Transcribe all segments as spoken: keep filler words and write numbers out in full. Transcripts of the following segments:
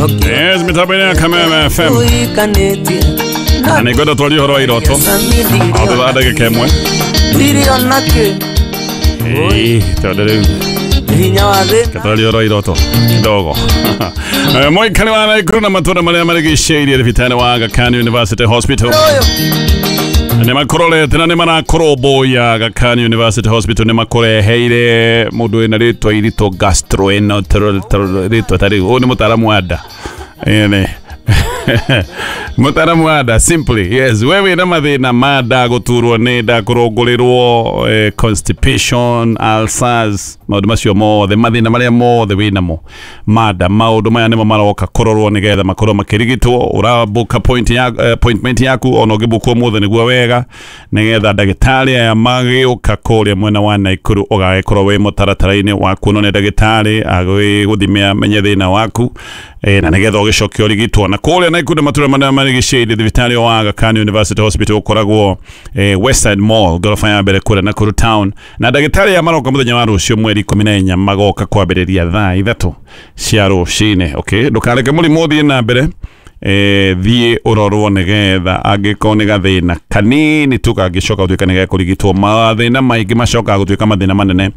Yes, mĩtambo-inĩ ya Kameme F M. Na nĩ ngwenda twarie ũhoro wa iroto o thutha wa ndagĩka ĩmwe. Ĩĩ, tondũ rĩu twarie ũhoro wa iroto kidogo. Mũikari wa Nakuru na matũũra marĩa marigicĩirie thibitarĩ wa Aga Khan University Hospital nĩ makũrorete na nĩ marakũrũmbũiya. Aga Khan University Hospital nĩ makũreheire mũndũ wĩna rĩtwa iritũ gastroenterology, rĩtwa ta rĩu. Ũyũ nĩ mũtaaramu wa nda. Ĩĩ, mũtaaramu wa nda, simply. Yes, we wĩna mathĩna ma nda, gũturwo nĩ nda, kũrũngũrĩrwo, eh, constipation, ulcers, maũndũ macio mothe, mathĩna marĩa mothe wĩnamo ma nda, maũndũ maya nĩmo maroka kũrorwo nĩgetha makorwo makĩrigitwo. Ũrabook point ya, appointment yaku ona ũngĩbook ũmũthĩ nĩguo wega, nĩgetha ndagĩtarĩ aya magĩũka kũrĩa mwena wa Nakuru ũgagĩkorwo wĩ mũtaratara-inĩ wa kuonwo nĩ ndagĩtarĩ agĩgũthime amenye thĩna waku, eh, na nĩgetha ũgĩcoke ũrigitwo. Na kũrĩa Nakuru na matũũra marĩa marigicĩirie thibitarĩ wa Aga Khan University Hospital ũkoragwo eh, Westside Mall, ngoroba ya mbere kũrĩa Nakuru town. Na ndagĩtarĩ aya maroka mũthenya wa rũciũ mweri ikũmi na inya, magoka kwambĩrĩria thaa ithatũ cia rũcinĩ. Okay, ndũkareke mũrimũ ũthiĩ na mbere, eh, thiĩ ũrorwo nĩgetha angĩkorwo nĩ gathĩna kanini tu kangĩcoka gũtuĩka nĩ gekũrigitwo. Mathĩna maingĩ macokaga gũtuĩka mathĩna manene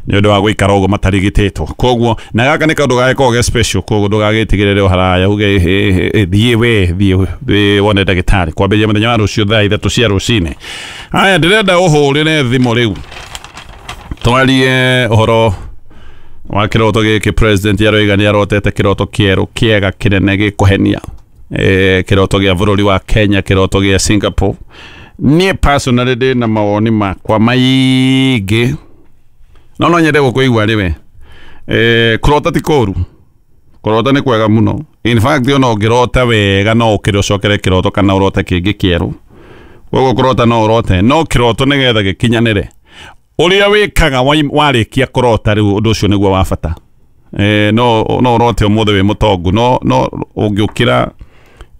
nĩ ũndũ wa gũikara ũguo matarigitĩtwo. Koguo na gaka nĩ kaũndũ gagĩkoragwo ge special, koguo ndũgagĩtigĩrĩre o haraya uge thiĩ we thiĩ thiĩ wone ndagĩtarĩ kwambĩrĩria mũthenya wa rũciũ thaa ithatũ cia rũcinĩ. Haya, ndĩrenda ũhũrĩre thimũ rĩu twarie ũhoro wa kĩroto gĩkĩ. President aroiga nĩ arotete kĩroto kĩerũ kĩega kĩnene gĩkũhenia, eh, kĩroto gĩa bũrũri wa Kenya, kĩroto gĩa Singapore. Niĩ personally ndĩ na mawoni makwa maingĩ, no no nyende gũkũigua rĩwe. Eh, kũrota ti kũũru, kũrota nĩ kwega mũno. In fact, ona ũngĩrota wega no ũkĩre ũcokere kĩroto kana ũrote kĩngĩ kĩerũ. Koguo kũrota no ũrote, no kĩroto nĩgetha gĩkinyanĩre ũrĩa wĩkaga warĩkia kũrota rĩu, ũndũ ũcio nĩguo wa bata. Eh, no no ũrote ũmũthĩ wĩ mũtongu, no no ũngĩũkĩra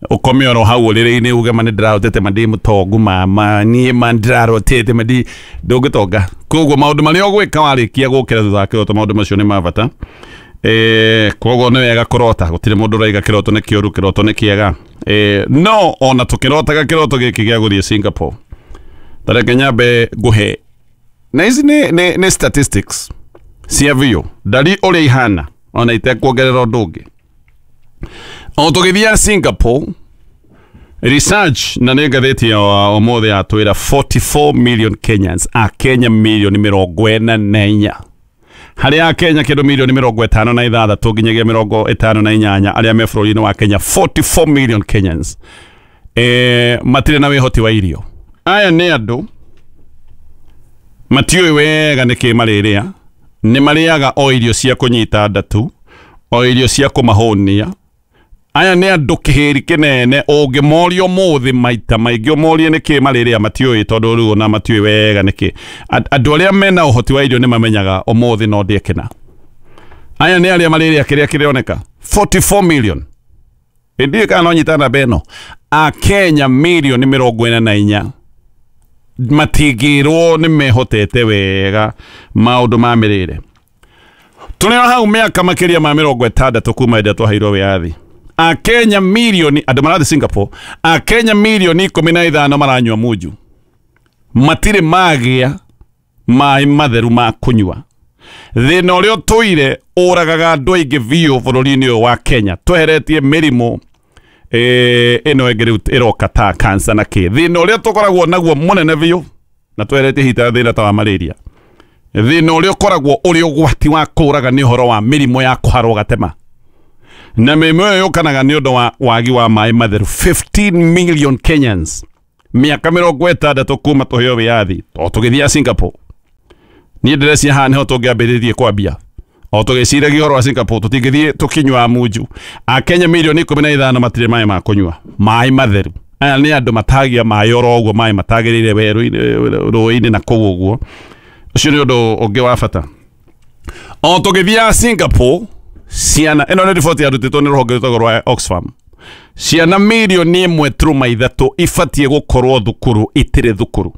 ũkome oro hau ũrĩrĩ-inĩ uge ma nĩ ndĩrarotete ma ndĩ mũtongu, mama niĩ ma ndĩrarotete ma ndi ndũngĩtonga. Koguo maũndũ marĩa ũgwĩka warĩkia gũkĩra thutha wa kĩroto, maũndũ macio nĩ ma bata. Eh, koguo nĩ wega kũrota, gũtirĩ mũndũ ũraiga kĩroto nĩ kĩũru, kĩroto nĩ kĩega. Eh, no ona tũkĩrotaga kĩroto gĩkĩ gĩa gũthiĩ Singapore, ta reke nyambe ngũhe na ici nĩ nĩ nĩ statistics cia biũ, ndari ũrĩa ihana ona itekuongerera ũndũ ũngĩ. O tũgĩthiaga Singapore, research na nĩ ngathĩti ya ũmũthĩ yatwĩra forty-four million Kenyans, Akenya milioni mĩrongo ĩna na inya, harĩ Akenya kĩndũ milioni mĩrongo ĩtano na ithathatũ nginyagia mĩrongo ĩtano na inyanya arĩa me bũrũri-inĩ wa Kenya, forty-four million Kenyans eh, matirĩ na wĩhoti wa irio. Aya nĩ andũ matiũĩ wega nĩkĩ marĩrĩa, nĩ marĩaga o irio cia kũnyita nda tu, o irio cia kũmahũnia. Aya nĩ andũ kĩhĩri kĩnene ũngĩmoria ũmũthĩ maita maingĩ ũmorie nĩkĩ marĩrĩa, matiũĩ, tondũ rĩu ona matiũĩ wega nĩkĩ. Andũ arĩa mena ũhoti wa irio nĩ mamenyaga ũmũthĩ no ndĩe kĩna. Aya nĩ arĩa marĩrĩa kĩrĩa kĩroneka forty-four million. Ĩndĩ kana no nyita namba ĩno, Akenya milioni mĩrongo ĩna na inya matingĩrwo nĩ mehotete wega maũndũ ma mĩrĩre. Tũrĩ o hau mĩaka makĩria ma mĩrongo ĩtandatũ kuma hĩndĩ ĩrĩa twaheirwo wĩyathi. Akenya milioni, andũ marathiĩ Singapore, Akenya milioni ikũmi na ithano maranyua munju, matirĩ magĩa maĩ matheru ma kũnyua. Thĩna ũrĩa ũtũire ũragaga andũ aingĩ biũ bũrũri-inĩ ũyũ wa Kenya, tweheretie mĩrimũ eh, ĩno ĩngĩ rĩu ĩroka ta cancer na kĩ. Thĩna ũrĩa tũkoragwo naguo mũnene biũ na tweheretie hita thĩna ta wa malaria, thĩna ũrĩa ũkoragwo ũrĩ ũgwati wa kũraga nĩ ũhoro wa mĩrimũ ya kũharwo gatema, na mĩrimũ ĩyo yũkanaga nĩ ũndũ wa wagi wa maĩ matheru. fifteen million Kenyans mĩaka mĩrongo ĩtandatũ kuma tũheo wĩyathi, o tũgĩthiaga Singapore. Niĩ ndĩreciria haha nĩho tũngĩambĩrĩrie kwambia o tũgĩciragia ũhoro wa Singapore, tũtingĩthiĩ tũkĩnyuaga munju. Akenya milioni ikũmi na ithano matirĩ maĩ ma kũnyua, maĩ matheru. Aya nĩ andũ matagia maĩ oro ũguo, maĩ matagĩrĩire werũ-inĩ, rũĩ-inĩ na kũu ũguo. Ũcio nĩ ũndũ ũngĩ wa bata. O tũgĩthiaga Singapore, ciana ĩno nĩ riboti yarutĩtwo nĩ rũhonge rwĩtagwo rwa Oxfam, ciana milioni ĩmwe turuma ithatũ ibatiĩ gũkorwo thukuru itirĩ thukuru.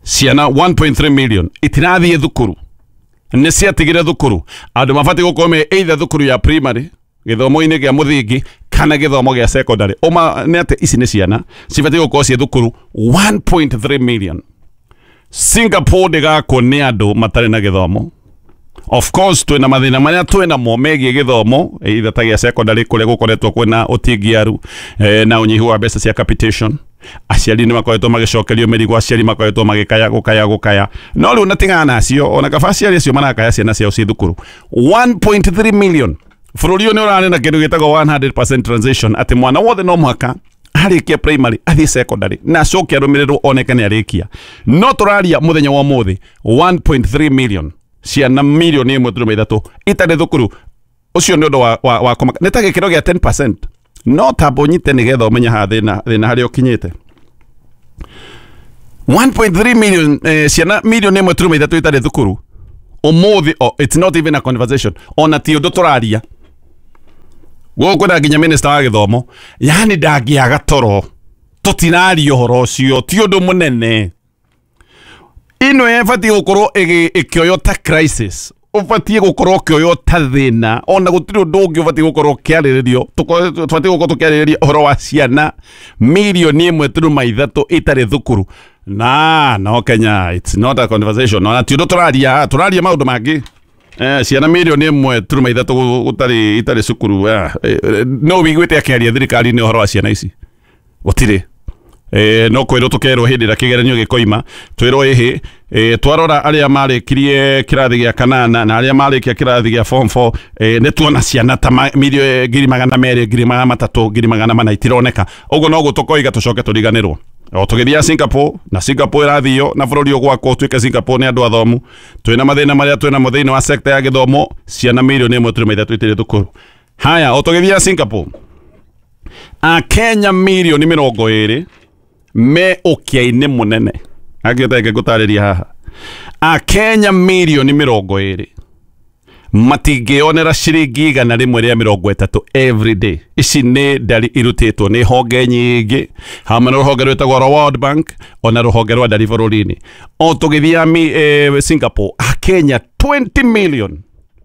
Ciana one point three million itirathiĩ thukuru, nĩ ciatigire thukuru. Andũ mabatiĩ gũkorwo me either thukuru ya primary gĩthomo-inĩ gĩa mũthingi kana gĩthomo gĩa secondary. Ũma nĩ atĩ ici nĩ ciana cibatiĩ gũkorwo ciĩ thukuru one point three million. Singapore ndĩgakwo nĩ andũ matarĩ na gĩthomo. Of course twĩna mathĩna marĩa twĩna mo megiĩ gĩthomo either ta gĩa secondary kũrĩa gũkoretwo kwĩna ũtingiaru eh, na ũnyihu wa mbeca cia capitation. Aciari nĩ makoretwo magĩcokerio mĩrigo, aciari makoretwo magĩkaya gũkaya gũkaya, no rĩu na tigana nacio, ona kaba aciari acio marakaya ciana ciao ciĩ thukuru. one point three million. Bũrũri ũyũ nĩ ũrarĩ na kĩndũ gĩtagwo one hundred percent transition, atĩ mwana wothe no mũhaka arĩkia primary athiĩ secondary na acoke arũmĩrĩrwo oneke nĩ arĩkia. No tũraria mũthenya wa ũmũthĩ one point three million ciana milioni ĩmwe turuma ithatũ itarĩ thukuru. Ũcio nĩ ũndũ wa, wa, wa kũmaka. Nĩ ta gĩkĩro gĩa ten percent. No tamba ũnyite nĩgetha ũmenye haha thĩna, thĩna harĩa ũkinyĩte. one point three million eh, ciana milioni ĩmwe turuma ithatũ itarĩ thukuru ũmũthĩ. Oh, it's not even a conversation, ona ti ũndũ tũraria gũkũ na nginya minister wa gĩthomo yani ndangĩaga toro, tũtiraria ũhoro ũcio, ti ũndũ mũnene. Ĩno ĩbatiĩ gũkorwo ĩkĩoywo ta crisis, ũbatiĩ gũkorwo ũkĩoywo ta thĩna, ona gũtirĩ ũndũ ũngĩ ũbatiĩ gũkorwo ũkĩarĩrĩrio. Tũbatiĩ gũkorwo tũkĩarĩrĩria ũhoro wa ciana milioni ĩmwe turuma ithatũ itarĩ thukuru. Na no Kenya it's not a conversation, ona ti ũndũ tũraria, tũraria maũndũ mangĩ. Eh, ciana milioni ĩmwe turuma ithatũ gũtarĩ itarĩ cukuru. Eh, no wiguĩte akĩaria thirikari-inĩ ũhoro wa ciana ici? Gũtirĩ. Eh, no kwĩrwo tũkerwo hĩndĩ ĩrĩa kĩgeranio gĩkoima twĩrwo ĩhĩ. Eh, twarora arĩa marĩkirie kĩrathi gĩa kanana na arĩa marĩkia kĩrathi gĩa form four, eh, nĩ tuona ciana ta milioni ngiri magana merĩ, ngiri magana matatũ, ngiri magana mana itironeka. Ũguo noguo tũkoiga tũcoke tũriganĩrwo. O tũgĩthiaga Singapore, na Singapore ĩrathio na bũrũri ũgwakwo ũtuĩke Singapore nĩ andũ athomu. Twĩna mathĩna marĩa twĩna mo thĩinĩ wa sector ya gĩthomo, ciana milioni ĩmwe turuma ithatũ itirĩ thukuru. Haya, o tũgĩthiaga Singapore, Akenya milioni mĩrongo ĩrĩ me ũkĩa-inĩ mũnene. Angĩoteke ngũtarĩria haha, Akenya milioni mĩrongo ĩrĩ matingĩonera ciringi igana rĩmwe rĩa mĩrongo ĩtatũ every day. Ici nĩ ndari irutĩtwo nĩ honge nyingĩ, hamwe na rũhonge rwĩtagwo rwa World Bank ona rũhonge rwa ndari bũrũri-inĩ. O tũgĩthiaga eh, Singapore, Akenya twenty million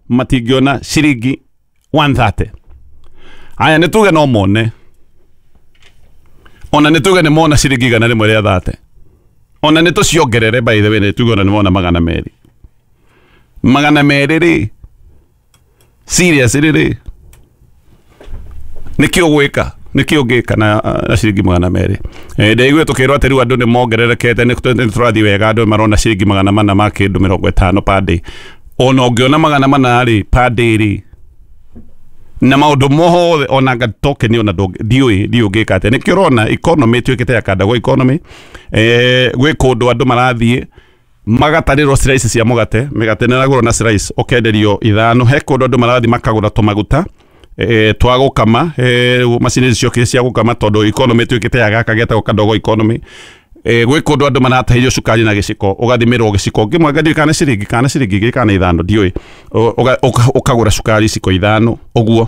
matingĩona ciringi one thirty. Aya nĩ tuge no mone, ona nĩ tuge nĩ mona ciringi igana rĩmwe rĩa thate, ona nĩ tũciongerere by the way, nĩ tuge ona nĩ mona magana merĩ, magana merĩ rĩ, serious rĩ, nĩkĩ ũgwĩka, nĩkĩ ũngĩka na, na ciringi magana merĩ? Eh, ndaigua tũkĩrwo atĩ rĩu andũ nĩ mongererekete, nĩ tũrathiĩ wega, andũ marona ciringi magana mana ma kĩndũ mĩrongo ĩtano per day. Ona ũngĩona magana mana rĩ per day rĩ, na maũndũ mothe ona ngatokeni ona ndiũĩ ndiũĩ ũngĩka atĩa. Nĩkĩo ũrona economy ĩtuĩkĩte ya kandagwo economy. Eh, gwĩ kũndũ andũ marathiĩ magatarĩrwo slice cia mũgate, mĩgate nĩ ĩragũrwo na slice ũkenderio ithano. He kũndũ andũ marathiĩ makagũra tũmaguta eh, twa gũkama, eh, macini icio cia gũkama, tondũ economy ĩtuĩkĩte ya gaka getagwo kadogo economy. Eh, gwĩ kũndũ andũ maratahĩrio cukari na gĩciko, ũgathimĩrwo gĩciko kĩmwe ndiũĩ kana ciringi kana ciringi igĩrĩ kana ithano ndiũĩ, ũkagũra cukari iciko ithano ũguo,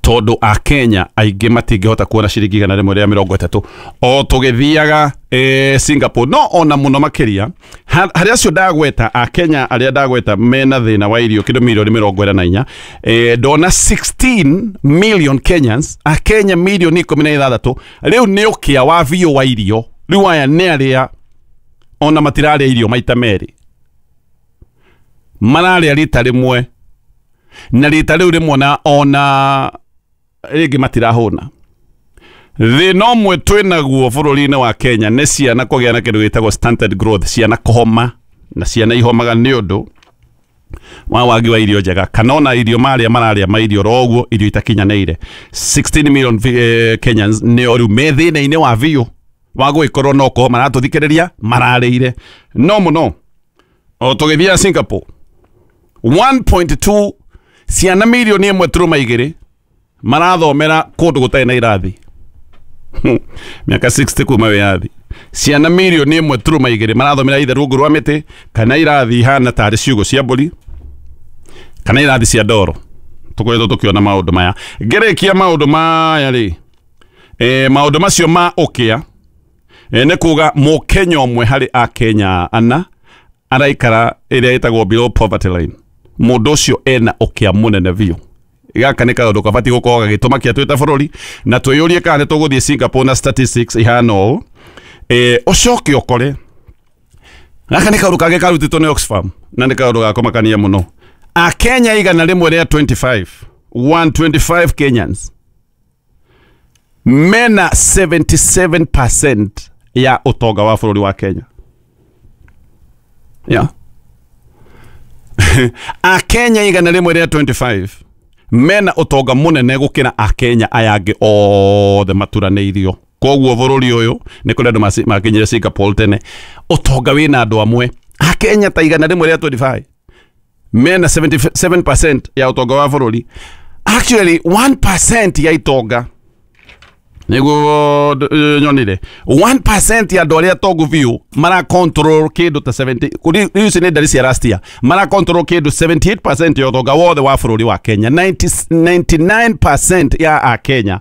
tondũ Akenya aingĩ matingĩhota kuona ciringi igana rĩmwe rĩa mĩrongo ĩtatũ. O tũgĩthiaga eh, Singapore, no ona mũno makĩria harĩa acio ndagweta, Akenya arĩa ndagweta mena thĩna wa irio kĩndũ milioni mĩrongo ĩna na inya, eh, ndona sixteen million Kenyans, Akenya milioni ikũmi na ithathatũ rĩu nĩ ũkĩa wa biũ wa irio. Rĩu aya nĩ arĩa ona matirarĩa irio maita merĩ, mararĩa rita rĩmwe, na rita rĩu rĩmwe ona ona rĩngĩ matirahũna. Thĩna ũmwe twĩnaguo bũrũri-inĩ wa Kenya nĩ ciana kũgĩa na kĩndũ gĩtagwo stunted growth, ciana kũhoma, na ciana ihomaga nĩ ũndũ wa wagi wa irio njega, kana ona irio marĩa mararĩa ma irio oro ũguo, irio itakinyanĩire. sixteen million eh, Kenyans nĩo rĩu me thĩna-inĩ wa biũ wa gũgĩkorwo no kũhoma maratũthikĩrĩria mararĩire no mũno. O tũgĩthiaga Singapore, one point two ciana milioni ĩmwe turuma igĩrĩ marathomera kũndũ gũtarĩ na irathi. Mĩaka sixty kuma wĩyathi, ciana milioni ĩmwe turuma igĩrĩ marathomera either rungu rwa mĩtĩ kana irathi ihana tarĩ ciugũ cia mbũri kana irathi cia ndoro. Tũkoretwo tũkĩona maũndũ maya. Ngĩrĩkia maũndũ maya rĩ, eh, maũndũ macio ma ũkĩa, eh, nĩ kuga mũkenya ũmwe harĩ Akenya ana araikara ĩrĩa ĩtagwo below poverty line. Mũndũ ũcio ena ũkĩa mũnene biũ. Gaka nĩ kaũndũ kabatiĩ gũkorwo gagĩtũmakia twĩ ta bũrũri na twĩyũrie kana nĩ tũgũthiĩ Singapore na statistics ihana ũũ. Eh, ũcoke ũkore gaka nĩ kaũndũ kangĩ karutĩtwo nĩ Oxfam na nĩ kaũndũ ga kũmakania mũno. Akenya igana rĩmwe rĩa twenty-five, one twenty-five Kenyans mena seventy-seven percent ya ũtonga wa bũrũri wa Kenya. Yeah. Akenya igana rĩmwe rĩa twenty-five mena ũtonga mũnene gũkĩra Akenya aya angĩ othe maturanĩirio. Koguo bũrũri ũyũ nĩ kũrĩ andũ makinyire Singapore tene, ũtonga wĩna andũ amwe. Akenya ta igana rĩmwe rĩa twenty-five mena seventy-seven percent ya ũtonga wa bũrũri. Actually one percent ya itonga nĩguo nyonire one percent ya andũ arĩa tongu biũ mara control kĩndũ ta seventy, rĩu ici nĩ ndari cia last year, mara control kĩndũ seventy-eight percent ya ũtonga wothe wa bũrũri wa Kenya. ninety-nine percent ya Akenya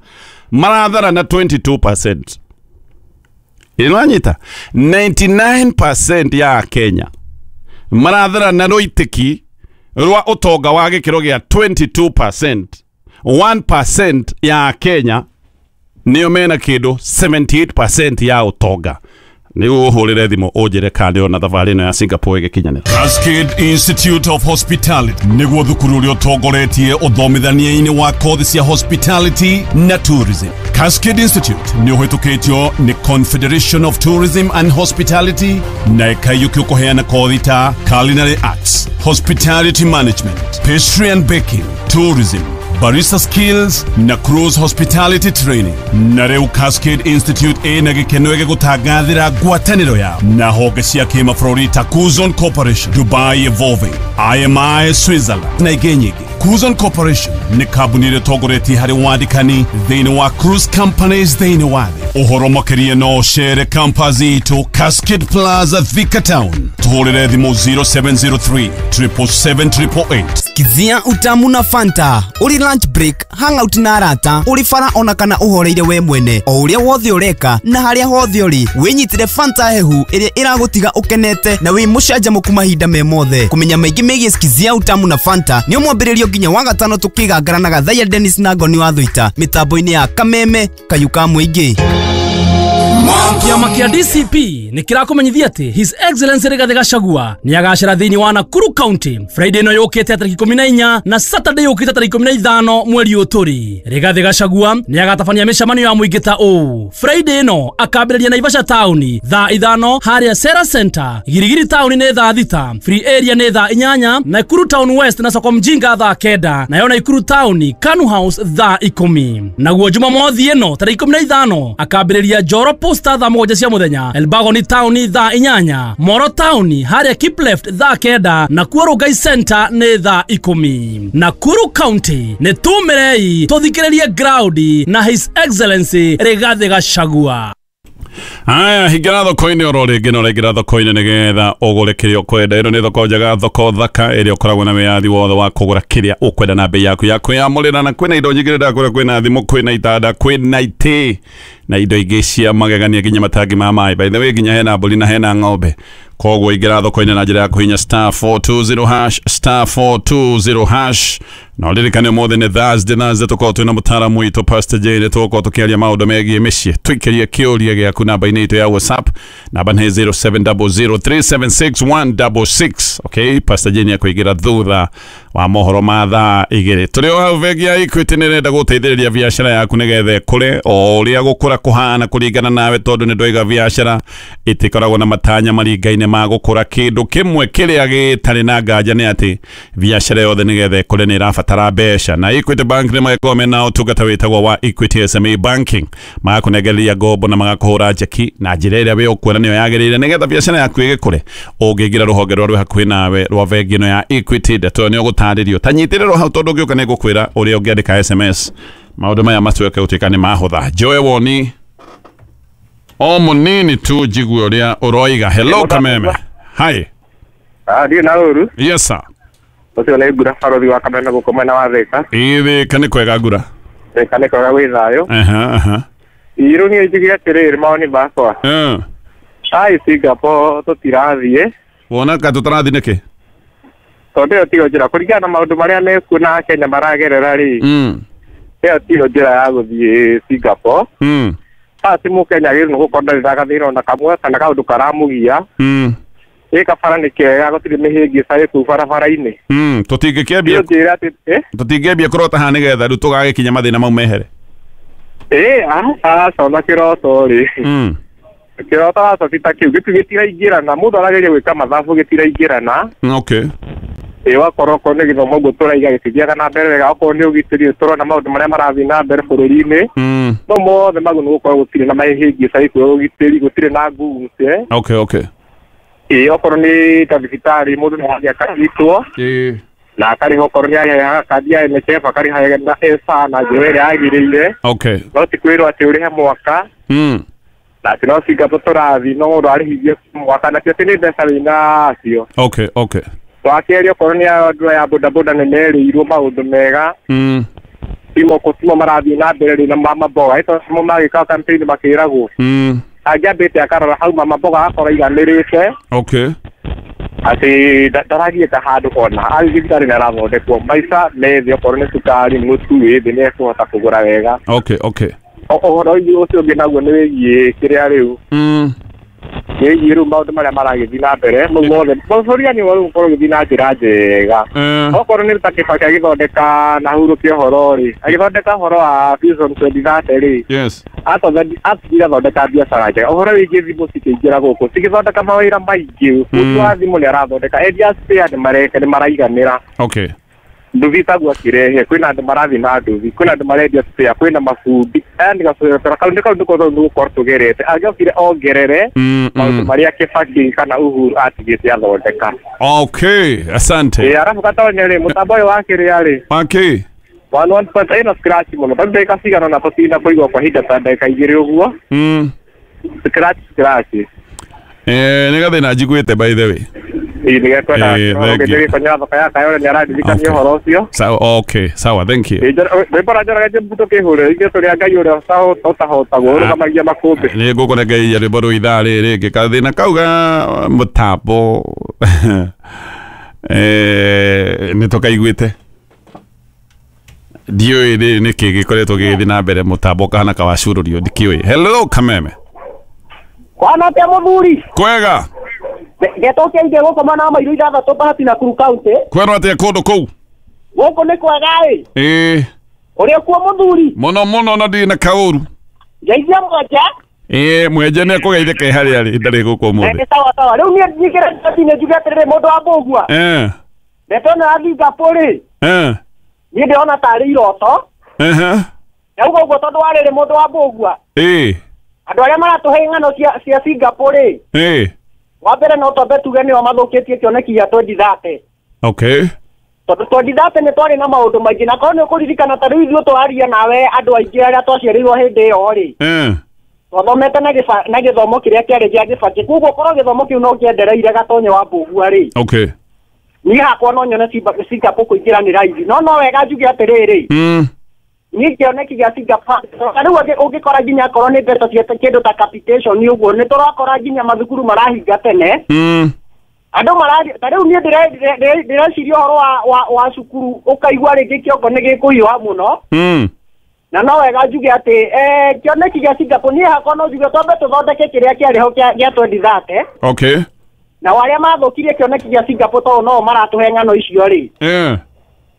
marathara na twenty-two percent. Ĩnanyita ninety-nine percent ya Akenya marathara na rũitĩki rwa ũtonga wa gĩkĩro gĩa twenty-two percent. one percent ya Akenya nĩo mena kĩndũ seventy-eight percent ya ũtonga. Nĩguo ũhũrĩre thimũ ũnjĩre kana ndĩrona thabarĩ ĩno ya Singapore ĩgĩkinyanĩra. Cascade Institute of Hospitality nĩguo thukuru ũrĩa ũtongoretie ũthomithania-inĩ wa kothi cia hospitality na tourism. Cascade Institute nĩ ũhĩtũkĩtio nĩ Confederation of Tourism and Hospitality na ĩkaiyũkio kũheana kothi ta culinary arts, hospitality management, pastry and baking, tourism, barista skills na cruise hospitality training. Na rĩu Cascade Institute ĩna gĩkeno gĩgũtangathĩra ngwatanĩro yao na honge cia kĩmabũrũri ta Kuzon Corporation, Dubai Evolving, I M I Switzerland na ingĩ nyingĩ. Kuzon Corporation nĩ kambuni ĩrĩa ĩtongoretie harĩ wandĩkani thĩinĩ wa cruise companies thĩinĩ wa thĩ. Ũhoro makĩria no ũcere campus itũ Cascade Plaza, Thika Town. Tũhũrĩre thimũ zero seven zero three, triple seven, triple eight. Kizia utamu na Fanta, uri lunch break, hangout na arata, uri bara ona kana uhoreire we mwene, o uria wothe ureka na haria hothe uri, winyitire Fanta hehu iria iragutiga ukenete na wi mucanjamuku mahinda me mothe. Kumenya maingi megie Skizia utamu na Fanta ni mwambĩrĩrio nginya wa gatano tukigangara na Gathaiya Dennis na Ngoni wa Thuita mitambo-inĩ ya Kameme Kayuka Mũingĩ. Kĩama kĩa D C P nĩ kĩrakũmenyithia atĩ His Excellency Rigathĩ Gachagua nĩ agacera thĩinĩ wa Nakuru County Friday ĩno yũkĩte tarĩki ikũmi na inya na Saturday yũkĩte tarĩki ikũmi na ithano mweri ũyũ tũrĩ. Rigathĩ Gachagua nĩ agatabania mĩcemanio ya mũingĩ ta ũũ. Friday ĩno akambĩrĩria Naivasha Town thaa ithano harĩa Sera Center, Girigiri Town nĩ thaa thita, Free Area nĩ thaa inyanya, Nakuru Town West na Soko Mjinga thaa kenda, nayo Nakuru Town Kanu House thaa ikũmi. Naguo Jumamothi ĩno tarĩki ikũmi na ithano akambĩrĩria Njoro Posta thaa mũgwanja cia mũthenya, Elbagon Town thaa inyanya, Moro Town harĩa Keep Left thaa kenda, Nakuru Rongai Center nĩ thaa ikũmi. Nakuru County nĩ tumĩrei tũthikĩrĩrie ground na His Excellency Rigathĩ Gachagua. Aya, hingĩra thoko-inĩ oro rĩngĩ na ũraingĩra thoko-inĩ nĩgetha ũgũre kĩrĩa ũkwenda. Ĩno nĩ thoko njega, thoko thaka ĩrĩa ũkoragwo na wĩyathi wothe wa kũgũra kĩrĩa ũkwenda na bei yaku ya kwĩyamũrĩra, na kwĩna indo nyingĩ ndakũra, kwĩna thimũ, kwĩna itanda, kwĩna itĩ na indo ingĩ cia magegania nginya matangi ma maĩ. By the way, nginya hena mbũri na hena ng'ombe. Koguo ingĩra thoko-inĩ na njĩra ya kũhihinya star four two zero hash, star four two zero hash. Na ũririkane ũmũthĩ nĩ Thursday, Thursday tũkoragwo twĩna mũtaaramu witũ Pastor Jane, tũgũkorwo tũkĩaria maũndũ megiĩ mĩciĩ. Tũikĩrie kĩũria gĩaku namba-inĩ itũ ya WhatsApp, namba nĩ zero seven zero zero three seven six one six six. Okay, Pastor Jane akũingĩra thutha wa mohoro ma thaa igĩrĩ. Tũrĩ o hau bengi ya Equity nĩ ĩrenda gũteithĩrĩria biacara yaku nĩgetha ĩkũre o ũrĩa gũkũra kũhana kũringana nawe, tondũ nĩ ndoiga biacara ĩtikoragwo na matanya maringaine ma gũkũra. Kĩndũ kĩmwe kĩrĩa gĩtarĩ na nganja nĩ atĩ biacara yothe nĩgetha ĩkũre nĩ ĩrabatara mbeca, na Equity Bank nĩ magĩkorwo mena ũtungata wĩtagwo wa Equity S M E Banking, magakũnengereria ngombo na magakũhũra njeki na njĩra ĩrĩa we ũkuona nĩyo yagĩrĩire nĩgetha biacara yaku ĩgĩkũre. Ũngĩingĩra rũhonge rwa rwĩ hakuhĩ nawe rwa bengi ĩno ya Equity, ndeto ĩyo nĩ ũgũtarĩrio. Ta nyitĩrĩrwo hau tondũ ũngĩũka nĩ ngũkwĩra ũrĩa ũngĩandĩka S M S maũndũ maya matuĩke gũtuĩka nĩ mahũtha. Njoe woni o mũnini tu njigue ũrĩa ũroiga. Hello Kameme. Hi. Ah, ndiĩ na ũru. Yes sir. Ũcio nĩ Ngura barothi wa Kameme gũkũ mwena wa Thika. Ĩ Thika nĩ kwega Ngura. Thika nĩ kwega gwĩ thayũ. Aha aha. Irũ niĩ njuge atĩrĩrĩ mawoni makwa. Eh. Ai Singapore tũtirathiĩ. Wona ka tũtarathiĩ nĩkĩ? Tondũ ĩyo tiyo njĩra kũringana na maũndũ marĩa mekuo na Kenya maragerera rĩ. Mm. Ĩyo tiyo njĩra ya gũthiĩ Singapore. Mm. Ti mũkenya agĩrĩirwo nĩ gũkorwo ndarĩ na gathĩna ona kamwe kana kaũndũ karamũgia. Mm. Ĩ kabara nĩ kega gũtirĩ mĩhĩngĩca ĩ kũu barabara-inĩ. Mm. Tũtingĩkĩambia njĩra atĩ eh tũtingĩambia kũrota haha nĩgetha rĩu tũgagĩkinya mathĩna mau mehere. Ĩ aca ona kĩroto rĩ. Mm. Kĩroto aca ti ta kĩu gĩtu gĩtiraingĩrana mũndũ arageria gwĩka mathabu gĩtiraingĩrana. Okay. Ĩ wakorwo okorwo nĩ gĩthomo ũguo tũraiga gĩtithiaga na mbere wega okorwo nĩ ũgitĩri tũrona maũndũ marĩa marathiĩ na mbere bũrũri-inĩ. Mm. No mothe magu nĩ gũkorwo gũtirĩ na mahĩngĩca ikuo ũgitĩri gũtirĩ na nguce. Okay, okay. Ĩ okorwo nĩ ta thibitarĩ mũndũ nĩ athiĩ akarigitwo. Ĩ na akarĩha okorwo nĩ arĩhaga kandi ya N H F akarĩha na S A na njĩra ĩrĩa yagĩrĩire. Okay. No ti kwĩrwo atĩ ũrĩhe mwaka. Mm. Na atĩ no Singapore tũrathiĩ no mũndũ arĩhithie mwaka na ti atĩ nĩ mbeca wĩna cio. Okay, okay. Wakerĩ okorwo nĩ andũ aya bodaboda nĩ merĩirwo maũndũ mega. Mm. Timo kũtimo marathiĩ na mbere rĩ na mama mboga ĩto mo magĩka campaign makĩragwo. Mm. Angĩambĩte akarora hau mama mboga akorwo aiganĩrĩte. Okay. Atĩ ndaragiĩka handũ ona athiĩ thibitarĩ nĩ arathondekwo maica me thĩ okorwo nĩ cukari mũtu wĩ thĩ nĩ ekũhota kũgũra wega. Okay, okay. Ũhoro ũcio ũngĩ naguo nĩ wĩgiĩ kĩrĩa rĩu. Mm. Wĩgiĩ rĩu maũndũ marĩa maragĩthiĩ na mbere mau mothe bũrũri nĩ rĩu ũkorwo ũgĩthiĩ na njĩra njega. Okorwo nĩ ta Kibaki agĩthondeka na hurũkia ũhoro rĩ agĩthondeka ũhoro wa Vision twenty thirty rĩ. Yes. Atigire athondeka biacara njega ũhoro wĩgiĩ thimũ cikĩingĩra gũkũ cigĩthondeka mawĩra maingĩ mũtu wa thimũ nĩ arathondeka endia spare nĩ mareka nĩ maraiganĩra. Okay. Nduthi taguo akĩrehe kwĩna andũ marathiĩ na nduthi kwĩna andũ marendia spare kwĩna mabundi aya nĩ gabara kau nĩ kau nĩko nĩ gũkorwo tũgerete angĩokire ongerere maũndũ marĩa Kibaki kana Uhuru atigĩte athondeka. Okay, asante. Ĩ arabu gatonya rĩ mũtambo ũyũ wa kĩrĩa rĩ okay one one point ĩno scratch mũno tondũ ndagĩka cigana ũna tũtina kũigua kwa ihinda ta ndagĩka igĩrĩ ũguo. Mm. Scratch scratch. Eh nĩ gathĩna njiguĩte by the way. Ĩ nĩgekwenda gĩkonyo thoko ya Kayole nĩ araririkania ũhoro ũcio. Sawa, okay, sawa, thank you. Rwĩmbo rwa Njoroge Mbuto kĩhũre ithuĩ tũrĩ a Ngai ũrĩa ũtahotagwo ũrũgamagia makũmbĩ. Nĩ ngũkũnengeria rwĩmbo rũu ithaa rĩrĩ rĩngĩ kathĩna kau ga mũtambo eh nĩ tũkaiguĩte ndiũĩ rĩ nĩkĩ gĩkoretwo gĩgĩthiĩ na mbere mũtambo ũkahana kawacurũrio ndikĩũĩ. Hello Kameme. Kwana atĩa mũthuri? Kwega. Getokia ige gũkũ mwena wa Mairu ithathatũ Bahati Nakuru County. Kwerwo atĩa kũndũ kũu? Gũkũ nĩ kwega ĩ. Ĩ. Ũrĩ kuo mũthuri? Mũno mũno na ndirĩ na kaũru. Ngeithia mwenje. Ĩ mwenje nĩ ekũgeithĩka e harĩa arĩ ndarĩ gũkũ ũmũthĩ. Nĩ sawa sawa. Rĩu niĩ nyingĩre njothi-inĩ njuge atĩrĩrĩ mũndũ wa Mbũgua. Eh. Ndeto ĩno ya Singapore rĩ. Eh. Niĩ ndĩrona tarĩ iroto. Ehe. Ndauga ũguo tondũ wa rĩrĩ mũndũ wa Mbũgua. Ĩ. Andũ arĩa maratũhe ng'ano cia cia Singapore rĩ. Ĩ. Wa mbere no twambe tuge nĩo mathũkĩtie kĩoneki gĩa twenty thirty. Okay. Tondũ twenty thirty nĩ twarĩ na maũndũ maingĩ na korwo nĩ ũkũririkana ta rĩu ithuĩ tũraria nawe andũ aingĩ arĩa twaciarĩirwo hĩndĩ ĩyo rĩ. Eh. Twathomete na gĩba na gĩthomo kĩrĩa kĩarĩ gĩa Gĩbakĩ koguo korwo gĩthomo kĩu no kĩendereire gatonye wa Mbũgua rĩ. Okay. Niĩ hakwa no nyone Singapore kũingĩra nĩ raithi no no wega njuge atĩrĩrĩ. Mm. Niĩ kĩoneki gĩa Singapore rĩu ũngĩkora nginya akorwo nĩ mbeca cia kĩndũ ta capitation ũguo nĩ tũrakora nginya mathukuru marahinga tene. Mm. Andũ marathi ta rĩu niĩ ndĩreciria ũhoro wa wa wa cukuru ũkaigua rĩngĩ kĩongo nĩ gĩkũhiũha mũno. Mm. Na no wega njuge atĩ eh kĩoneki gĩa Singapore niĩ hakwa no njuge twambe tũthondeke kĩrĩa kĩarĩ ho gĩa twenty thirty. Okay. Na arĩa mathũkirie kĩoneki gĩa Singapore tondũ no maratũhe ng'ano icio rĩ. Eh.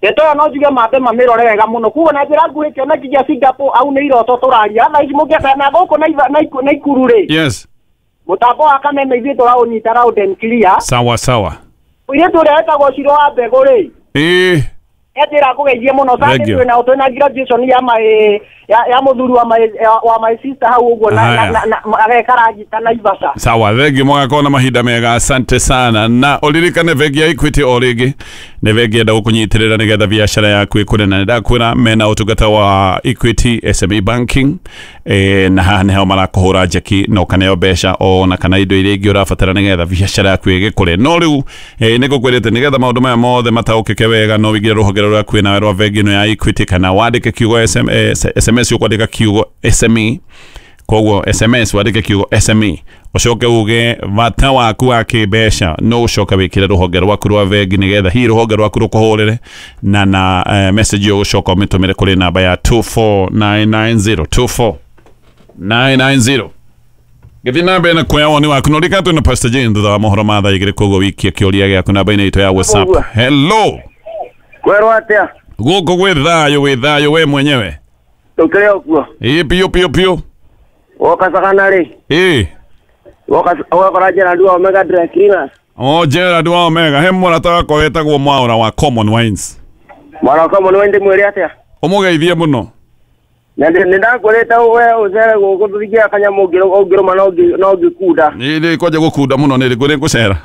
Ndeto ĩyo no njuge mambe mamĩrore wega mũno koguo na njĩra nguhĩ kĩoneki gĩa Singapore au nĩ iroto tũraria thaa ici mũngĩenda na gũkũ Naikuru rĩ. Yes. Mũtambo wa Kameme ithuĩ tũraũnyita round and clear. Sawa sawa. Mũirĩtu ũrĩa wetagwo Ciro wa Mbegũ rĩ. Ĩ. Enjĩra ngũgeithie mũno Thank you. twĩna twĩna graduation ya my ya ya mũthuri wa my wa my sister hau ũguo na Haya. na na ageka ragita Naivasha. Sawa, thengi mũgakorwo na mahinda mega, asante sana. Na ũririkane bengi ya Equity o rĩngĩ nĩ bengi enda gũkũnyitĩrĩra nĩgetha biacara yaku ĩkũre, na nĩndakwĩra mena ũtungata wa Equity S M E Banking, eh, na haha nĩho marakũhũra njeki na ũkaneo mbeca ona kana indo iria ingĩ ũrabatara nĩgetha biacara yaku ĩgĩkũre. No rĩu eh, nĩngũkwĩrĩte nĩgetha maũndũ maya mothe mataũkĩke wega no wĩingĩre rũhonge rũrĩa kwĩ nawe rwa bengi ĩno ya Equity, kana wandĩke kiugo S M, eh, S M S ũkwandĩka kiugo S M E, koguo S M S wandĩke kiugo S M E Ucoke uge bata waku wa kĩmbeca no ucoke wĩkĩre rũhonge rwaku rwa bengi nĩgetha hihi rũhonge rwaku rũkũhũrĩre na na uh, message ĩyo ũcoka ũmĩtũmĩre kũrĩ namba ya two four nine nine zero two four nine nine zero. Gĩthiĩ na mbere na kuoya woni waku no rika twĩna Pastor Jane thutha wa mohoro ma thaa igĩrĩ koguo wikie kĩũria gĩaku namba-inĩ itũ ya WhatsApp. Hello. Kwerwo atĩa? Gũkũ gwĩ thayũ, wĩ thayũ we mwenyewe. Tũkĩrĩ o kuo. Ĩ piũ piũ piũ. Woka Sagana rĩ? Ĩ. Woka wokora Gerald wa Omega Dry Cleaners. O Gerald wa Omega, he mũrata wakwa wetagwo Mwaura wa Common Wines. Mwaura wa Common Wines ndĩmwĩre atĩa? Ũmũgeithie mũno. Nĩ ndakwĩrĩte we ũcere gũkũ tũthiĩ kanyamũ ũngĩrũma no ngĩkunda. Nĩ kwanja gũkunda mũno nĩ rĩkũ ngũcera.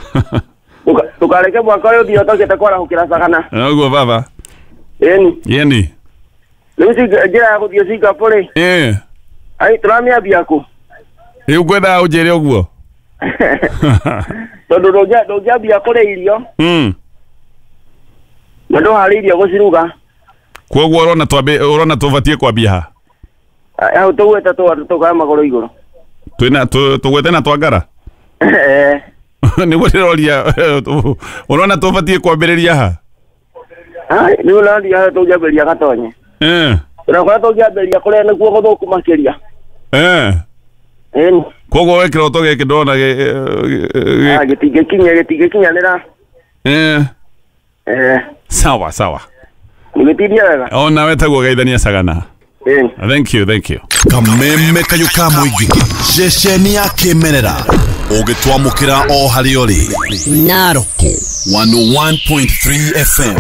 Ndũkareke mwaka ũyũ ũthiĩ ũtokĩte kwarahũkĩra Sagana. Ũguo baba. Ĩni. Ĩni. Rĩu njĩra ya gũthiĩ Singapore rĩ? Ĩ. Ai tũramĩambia kũ? Rĩu ngwendaga ũnjĩre ũguo. Tondũ ndũngĩambia kũrĩa irio. Mm. Na ndũharĩirie gũciruga. Koguo ũrona twambe ũrona tũbatiĩ kwambia ha? Hau tũgwĩte tũkaya magũrũ igũrũ. Twĩna tũgwĩte na twangara? Eh. Nĩguo ndĩroria ũrona tũbatiĩ kwambĩrĩria ha? Ai rĩu ũrathiĩ hau tũngĩambĩrĩria Gatonye. Eh. Ũrakora tũngĩambĩrĩria kũrĩa nĩkuo gũthũku makĩria. Eh. Ĩni. Koguo we kĩroto gĩkĩ ndona gĩtingĩkinya gĩtingĩkinyanĩra. Eh. Eh. Sawa sawa. Nĩgĩtindie wega. O nawe taguo geithania Sagana. Ĩni. Thank you, thank you. Kameme kayũ ka mũingĩ ceceni ya kĩmerera ũgĩtwamũkĩra o harĩa ũrĩ. Narok one oh one point three F M.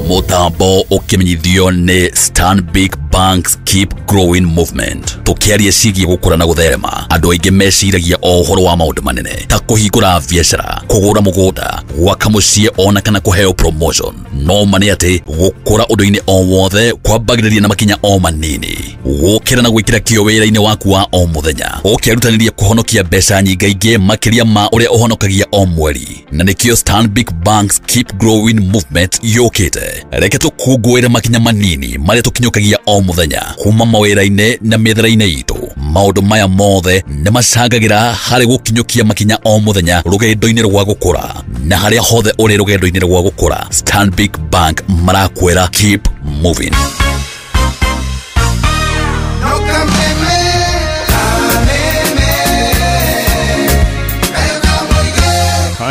Mũtambo ũkĩmenyithio nĩ Stanbic Banks Keep Growing Movement. Tũkĩaria ciĩgiĩ gũkũra na gũtherema, andũ aingĩ meciragia o ũhoro wa maũndũ manene ta kũhingũra biacara, kũgũra mũgũnda, gwaka mũciĩ ona kana kũheo promotion. No ma nĩ atĩ gũkũra ũndũ-inĩ o wothe kwambagĩrĩria na makinya o manini. Gũkĩra na gwĩkĩra kĩyo wĩra-inĩ waku wa o mũthenya, ũkĩrutanĩria kũhonokia mbeca nyingaingĩ makĩria ma ũrĩa ũhonokagia o mweri. Na nĩkĩo Stanbic Banks Keep Growing Movement yũkĩte. Reke tũkũngũĩre makinya manini marĩa tũkinyũkagia o mũthenya kuma mawĩra-inĩ na mĩethere-inĩ itũ. Maũndũ maya mothe nĩ macangagĩra harĩ gũkinyũkia makinya o mũthenya rũgendo-inĩ rwa gũkũra. Na harĩa hothe ũrĩ rũgendo-inĩ rwa gũkũra, Stanbic Bank marakwĩra keep moving.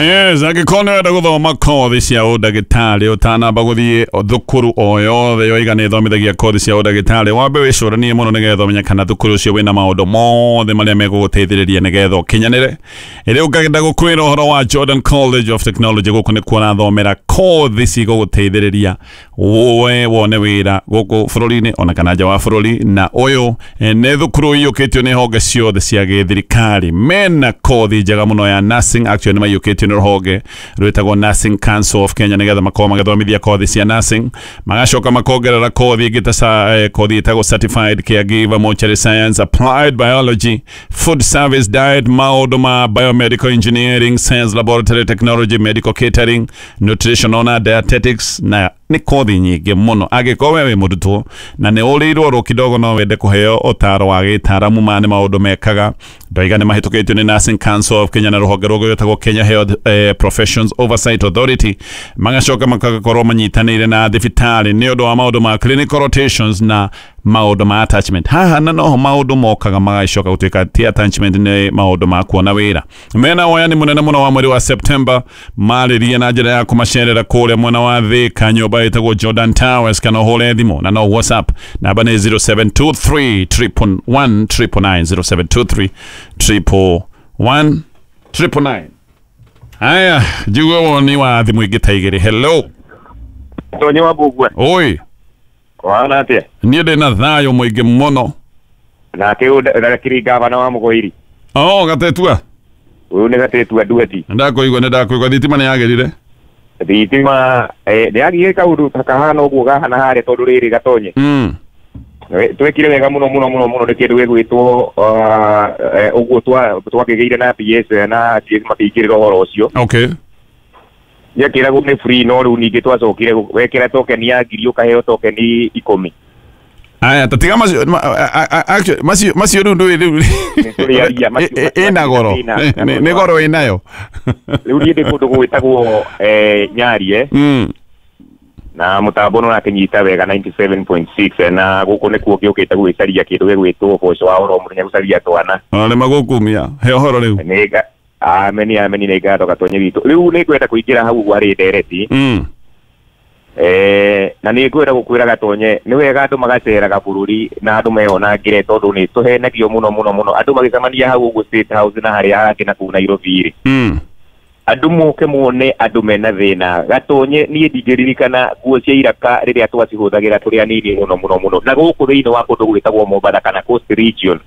Yes, angĩkorwo nĩ ũrenda gũthoma kothi cia ũndagĩtarĩ ũtanamba gũthiĩ thukuru o yothe yoiga nĩ ĩthomithagia kothi cia ũndagĩtarĩ, wambe wĩcũranie mũno nĩgetha ũmenye kana thukuru ũcio wĩna maũndũ mothe marĩa megũgũteithĩrĩria nĩgetha ũkinyanĩre. Rĩu ngagenda gũkwĩra ũhoro wa Jordan College of Technology. Gũkũ nĩkuo ũrathomera kothi cigũgũteithĩrĩria we wone wĩra gũkũ bũrũri-inĩ ona kana nja wa bũrũri. Na ũyũ nĩ thukuru iyũkĩtio nĩ honge ciothe cia gĩthirikari. Mena kothi njega mũno ya nursing. Actually nĩ maiyũkĩtio nĩ rũhonge rwĩtagwo Nursing Council of Kenya nĩgetha makorwo magĩthomithia kothi cia nursing. Magacoka makongerera kothi ĩngĩ ta kothi ĩtagwo certified caregiver, mortuary science, applied biology, food service, diet, maũndũ ma biomedical engineering, science laboratory technology, medical catering, nutrition ona dietetics na nĩ kothi nyingĩ mũno. Angĩkorwo we wĩ mũrutwo na nĩ ũrĩirwo ro kidogo no wende kũheo ũtaro wa gĩtaramu ma nĩ maũndũ mekaga, ndoiga nĩ mahĩtũkĩtio nĩ Nursing Council of Kenya na rũhonge rũngĩ rwĩtagwo Kenya Health eh, Professions Oversight Authority. Magacoka magakorwo manyitanĩire na thibitarĩ nĩ ũndũ wa maũndũ ma clinical rotations na maũndũ ma attachment. Haha na noho maũndũ mokaga magacoka gũtuĩka ti attachment, nĩ maũndũ ma kuona wĩra. Mena woyani mũnene mũno wa mweri wa September marĩrie na njĩra ya kũmacerera kũrĩa mwena wa Thika nyũmba ĩtagwo Jordan Towers, kana ũhũre thimũ na no WhatsApp namba nĩ zero seven two three triple one triple nine, zero seven two three triple one triple nine. Haya, njigue woni wa thimũ ingĩ ta igĩrĩ. Hello. Tonyi wa Mbugua. Oi. Kwana atia? Niĩ ndĩ na thayũ mũingĩ mũno. Nake ũndakiri gavana wa Mũgoiri. Oh, Gatetua. Ũyũ nĩ Gatetua Nduati. Ndakũigua, nĩ ndakũigua. Thitima nĩ yagĩrire? Thitima eh nĩ yagĩrire kaũndũ ta kahana ũguo gahana harĩa tondũ rĩrĩ Gatonye. Mm. Twekire wega mũno mũno mũno mũno nĩ kĩndũ gĩgwĩtwo ũguo twakĩgĩire na P S na G S makĩingĩrĩra ũhoro ũcio. Okay. Nĩakĩragwo nĩ free no rĩu ningĩ twacokire wekĩra token ya ngiri ũkaheo token ikũmi. Aya tatiga macio actually macio macio rĩu ndũĩ rĩu ĩna goro nĩ goro ĩnayo. Rĩu niĩ ndĩ kũndũ gwĩtagwo Nyarie na mũtambo nĩ ũrakĩnyita wega ninety-seven point six na gũkũ nĩkuo gĩũkĩte gwĩcaria kĩndũ gĩgwĩtwo ũboco wa oro mũthenya gũcaria twana. Ona nĩ magũkumia he ũhoro rĩu. Nĩ ameni ameni nĩ ngatho Gatonye witũ. Rĩu nĩ ngwenda kũingĩra hau harĩ ndereti. Eh na nĩ ngwenda gũkwĩra Gatonye nĩ wega andũ magaceraga bũrũri na andũ meyonangĩre tondũ nĩ tũhenagio mũno mũno mũno andũ magĩcemania hau ũguo State House na harĩa hangĩ na kũu Nairobi rĩ. Andũ moke mone andũ mena thĩna. Gatonye niĩ ndingĩririkana nguo cia iraka rĩrĩa twacihũthagĩra tũrĩ anini mũno mũno mũno na gũkũ thĩinĩ wa kũndũ gwĩtagwo Mombatha kana Coast Region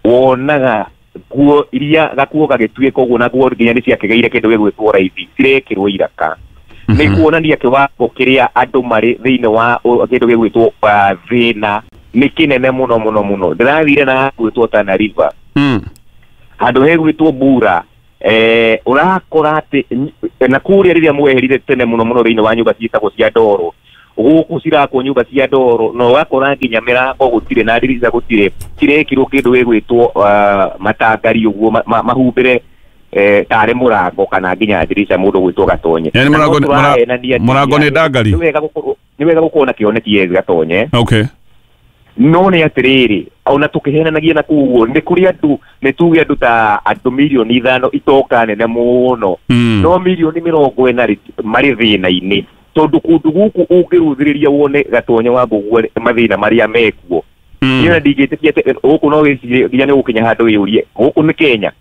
wonaga nguo iria gakuo gagĩtuĩka ũguo na nguo nginya nĩ ciakĩgĩire kĩndũ gĩgwĩtwo raithi cirekĩrwo iraka. Nĩ kuonania kĩwango kĩrĩa andũ marĩ thĩinĩ wa kĩndũ gĩgwĩtwo thĩna nĩ kĩnene mũno mũno mũno. Ndĩrathire na gwĩtwo Tana River handũ hegwĩtwo Bura eh ũrakora atĩ na kũrĩa rĩrĩa mweherire tene mũno mũno thĩinĩ wa nyũmba ciĩtagwo cia ndoro gũkũ cirakwo nyũmba cia ndoro na ũgakora nginya mĩrango gũtirĩ na ndirica gũtirĩ cirekĩrwo kĩndũ gĩgwĩtwo matangari ũguo mahumbĩre eh tarĩ mũrango kana nginya ndirica mũndũ gwĩtwo Gatonye. Yani mũrango mũrango nĩ ndangari. Nĩ wega gũkorwo nĩ wega gũkorwo na kĩoneki Gatonye. Okay. No nĩ atĩrĩrĩ ona tũkĩhenanagia na kũguo nĩ kũrĩ andũ nĩ tuge andũ ta andũ mirioni ithano itoka nene mũno no mirioni mĩrongo ĩna marĩ thĩna-inĩ tondũ kũndũ gũkũ ũngĩrũthĩrĩria wone Gatonye wa Mbũguo mathĩna marĩa mekuo. Niĩ ona ndingĩtĩkia atĩ gũkũ no wĩcirie nginya nĩ gũkinya handũ wĩyũrie gũkũ nĩ Kenya.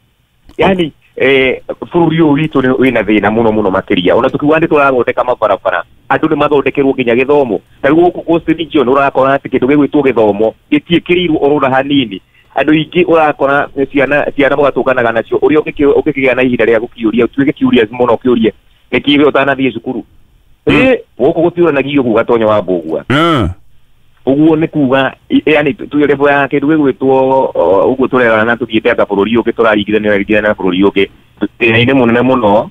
Yani eh bũrũri ũyũ witũ wĩna thĩna mũno mũno makĩria ona tũkiuga nĩ tũrathondeka mabarabara andũ nĩ mathondekerwo nginya gĩthomo ta rĩu gũkũ Coast Region ũrakora atĩ kĩndũ gĩgwĩtwo gĩthomo gĩtiĩkĩrĩirwo oro hanini andũ aingĩ ũrakora ciana ciana mũgatũnganaga nacio ũrĩa ũngĩkĩgĩa na ihinda rĩa gũkĩũria ũtuĩke curious mũno ũkĩũrie nĩkĩ we ũtanathiĩ cukuru ĩ gũkũ gũtiũranagio ũguo Gatonye wa Mbũgua ũguo nĩ kuga yani tuge level ya kĩndũ gĩgwĩtwo ũguo tũrerana na tũthiĩte anga bũrũri ũngĩ tũraringithania ringithania na bũrũri ũngĩ thĩna-inĩ mũnene mũno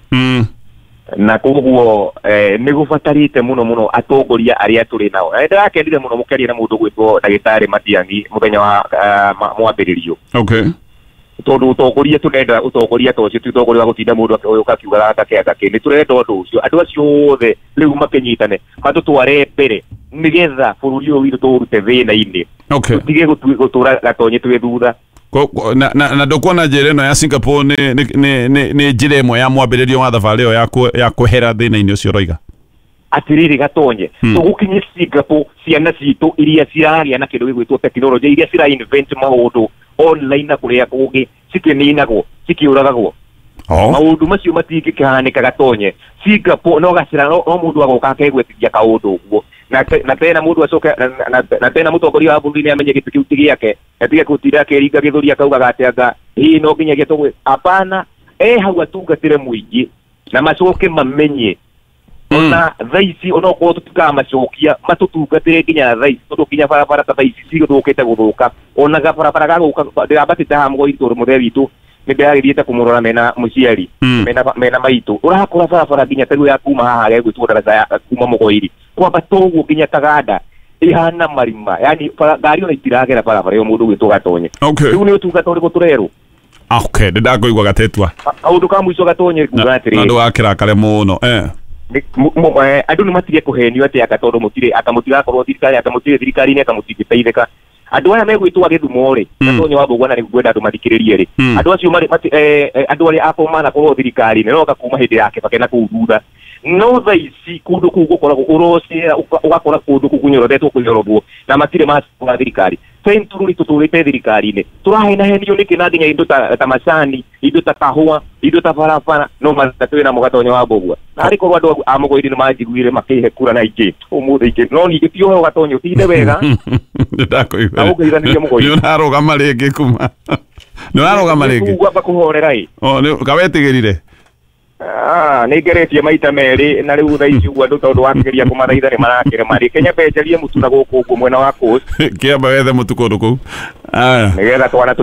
na koguo nĩ gũbatarĩte mũno mũno atongoria arĩa tũrĩ nao. Na ndĩrakenire mũno mũkĩaria na mũndũ gwĩtwo ndagĩtarĩ Matiang'i mũthenya wa mwambĩrĩrio. Okay. Tondũ ũtongoria tũrenda ũtongoria ta ũcio ti ũtongoria wa gũtinda mũndũ akĩũka akiugaga gaka gaka nĩ tũrenda ũndũ ũcio andũ acio othe rĩu makĩnyitane matũtware mbere nĩgetha bũrũri ũyũ witũ tũũrute thĩna-inĩ. Okay. Tũtige gũtũra Gatonye twĩ thutha. Na na ndũkuona njĩra ĩno ya Singapore nĩ nĩ nĩ nĩ njĩra ĩmwe ya mwambĩrĩrio wa thabarĩ ĩyo ya kwehera thĩna-inĩ ũcio ũroiga? Atĩrĩrĩ Gatonye tũgũkinye Singapore ciana citũ iria ciragĩa na kĩndũ gĩgwĩtwo tekinoronjĩ iria cira invent maũndũ online na kũrĩa kũngĩ cikĩninagwo cikĩũragagwo maũndũ macio matingĩkĩhanĩka Gatonye. Singapore no gacĩra no mũndũ agoka akegwetithia kaũndũ ũguo na na tena mũndũ acoke na tena mũtongoria wa bũrũri nĩ amenye gĩtĩ kĩu ti gĩake atige gũtinda akĩringa gĩthũri akaugaga atĩ anga hihi no nginyagia tũgwĩ apana e hau atungatĩre mũingĩ na macoke mamenye ona thaa ici onokorwo tũtikamacokia matũtungatĩre nginya thaa ici tondũ nginya barabara ta thaa ici cigũthũkĩte gũthũka ona gabarabara gagũka ndĩrambatĩte haha mũgoi tondũ mũthee witũ nĩ ndĩragĩthiĩte kũmũrora mena mũciari mena mena maitũ ũrakora barabara nginya ta rĩu ya kuma haha gegwĩtwo daraca ya kuma Mũgoiri kwambata ũguo nginya Taganda ihana marima yani ngari ona itiragera barabara ĩyo mũndũ gwĩtwo Gatonye. Rĩu nĩ ũtungata ũrĩkũ tũrerwo? Okay, ndĩndakũigua Gatetua. Kaũndũ ka mũico Gatonye nguga atĩrĩrĩ na ndũgakĩrakare mũno eh andũ nĩ matige kũhenio atĩ anga tondũ mũtirĩ anga mũtigakorwo thirikari anga mũtirĩ thirikari-inĩ anga mũtingĩteithĩka andũ aya megwĩtwo gĩthumo rĩ Gatonye wa Mbũgua na nĩ ngwenda andũ mathikĩrĩrie rĩ andũ acio marĩ andũ arĩa akorwo manakorwo thirikari-inĩ no kuma hĩndĩ ya Kibaki na kũu thutha no thaa ici kũndũ kũu gũkoragwo ũrocera ũgakora kũndũ kũu kũnyorotetwo kũnyorothwo na matirĩ macora thirikari century tũtũrĩte thirikari-inĩ tũrahenahenio nĩkĩ na nginya indo ta, ta macani indo ta kahũa indo ta barabara no mathĩna twĩ namo Gatonye wa Mbũgua na arĩ korwo andũ a Mũgoiri nĩ manjiguire makĩhe kura na ingĩ ũmũthĩ ingĩ no ningĩ ti ũheo Gatonye ũtinde wega ndakũigua na ũngeithanĩrie Mũgoiri nĩ ũrarũgama rĩngĩ kuma nĩ ũrarũgama rĩngĩ kugua kũhorera ĩ o nĩ kawetigĩrire Ah, nĩ ngeretie maita merĩ na rĩu thaa ici ũguo andũ tondũ wakĩgeria kũmathaitha nĩ marakĩrema rĩ Kenya benjerie mũtu na gũkũ ũguo mwena wa Coast kĩamba wethe mũtu kũndũ kũu nĩgetha twana tũ